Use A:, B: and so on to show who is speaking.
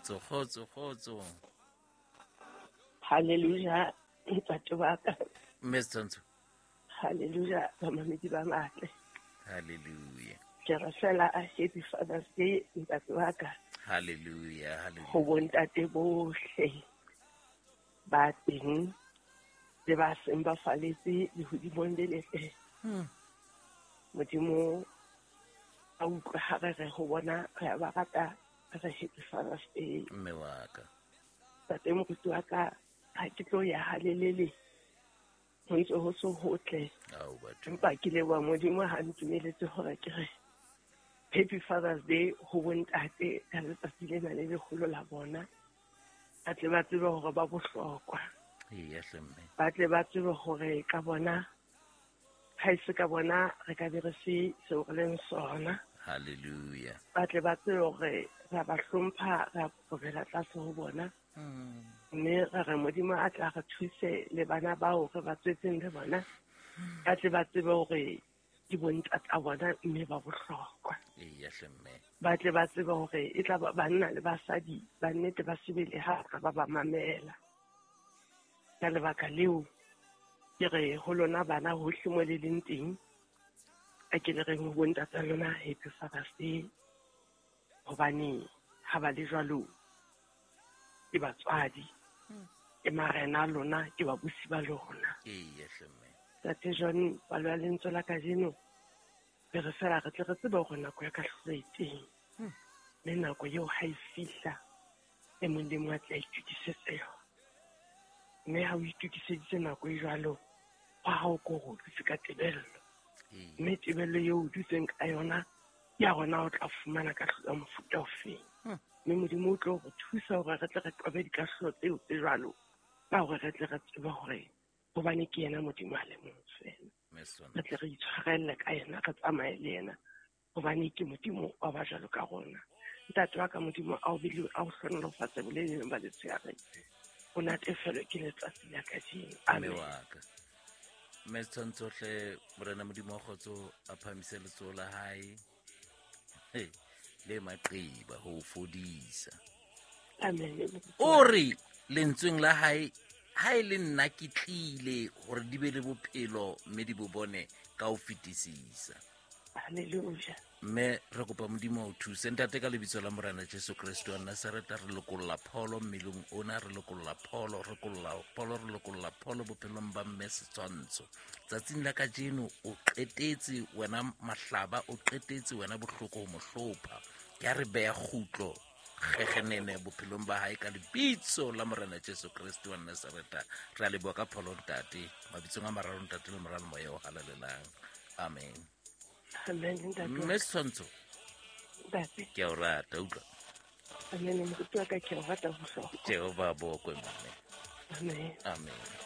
A: Kgotso, kgotso, kgotso.
B: Hallelujah, ntate wa ka.
A: Mme Setshwantsho.
B: Hallelujah, bamamedi ba matle.
A: Hallelujah.
B: Ke re fela a happy Father's Day, ntate wa ka.
A: Hallelujah, hallelujah.
B: Ho bontate bohle ba teng le ba seng ba faletse lehodimong le letle. Modimo a utlwe ha re re ho bona re a ba rata, re re happy Father's Day.
A: Mme wa ka.
B: Ntate moruti wa ka, ha ke tlo ya halelele, ho ntse ho se hotle.
A: Ao, batho.
B: Empa ke leboha Modimo ha ntumeletse hore ke re Happy Father's Day ho bontate ka letsatsi lena le leholo la bona. Ba tle ba tsebe hore ba bohlokwa.
A: Eya hle mme.
B: Ba tle ba tsebe hore ka bona, ha e se ka bona re ka be re se seo re leng sona.
A: Hallelujah.
B: Ba tle ba tsebe hore re a ba hlompha, re a kokobela tlase ho bona. Mme re re Modimo a tla re thuse le bana bao re ba tswetseng le bona. Ba tle ba tsebe hore ke bontata bona mme ba bohlokwa.
A: Eya hle mme.
B: Ba tle ba tsebe hore e tla ba banna le basadi ba nnete ba sebele ha ba ba mamela. Ka lebaka leo ke re ho lona bana hohle mo le leng teng, a ke le reng ho bontata lona Happy Father's Day, hobane ha ba le jwalo ke batswadi, ke marena a lona, ke babusi ba lona.
A: Eya hle mme.
B: Ntate John, palo ya lentswe la kajeno re re fela re tle re tsebe hore nako ya kahlolo e teng. Mme nako eo ha e fihla, e mong le mong a tle a itokisetse yona. Mme ha o itokiseditse nako e jwalo, hwa hao ke hore o dutse ka tebello. Mme tebello eo o dutseng ka yona, ke ya rona o tla fumana kahlolo ya mofuta ofeng. Mme Modimo o tlo re thusa hore re tle re qobe dikahlolo tseo tse jwalo, ka hore re tle re tsebe hore hobane ke yena Modimo a le mong fela. Re tle re itshwarelle ka yena, re tsamaye le yena, hobane ke Modimo wa ba jwalo ka rona. Ntate wa ka Modimo a o bile a o hlohonolofatse boleleng ba letsheare. O natefelwe ke letsatsi la kajeno.
A: Mme wa ka. Mme Setshwantsho hle, Morena Modimo wa kgotso a phahamise letsoho la hae le maqeba ho fodisa.
B: Amen.
A: O re lentsweng la hae, ha e le nna ke tlile hore di be le bophelo mme di bo bone ka ho fetisisa.
B: Hallelujah.
A: Mme re kopa Modimo a o thuse. Ntate, ka lebitso la Morena Jesu Kreste wa Nazareta, re lokolla pholo mmeleng ona, re lokolla pholo, re lokolla pholo, re lokolla pholo bophelong ba mme Setshwantsho. Tsatsing la kajeno o qetetse wena mahlaba, o qetetse wena bohloko ho mo hlopha. Ke a re beha kgutlo kgekgenene bophelong ba hae ka lebitso la Morena Jesu Kreste wa Nazareta. Re a leboha ka pholo ntate, mabitsong a mararo ntate le Mora le Moya o halalelang. Amen.
B: Amen, ntate.
A: Mme Setshwantsho,
B: Ntate.
A: ke a o rata, utlwa.
B: Amen, moruti wa ka, ke a o rata bohlokwa.
A: Jehova a bokwe, mme.
B: Amen.
A: Amen.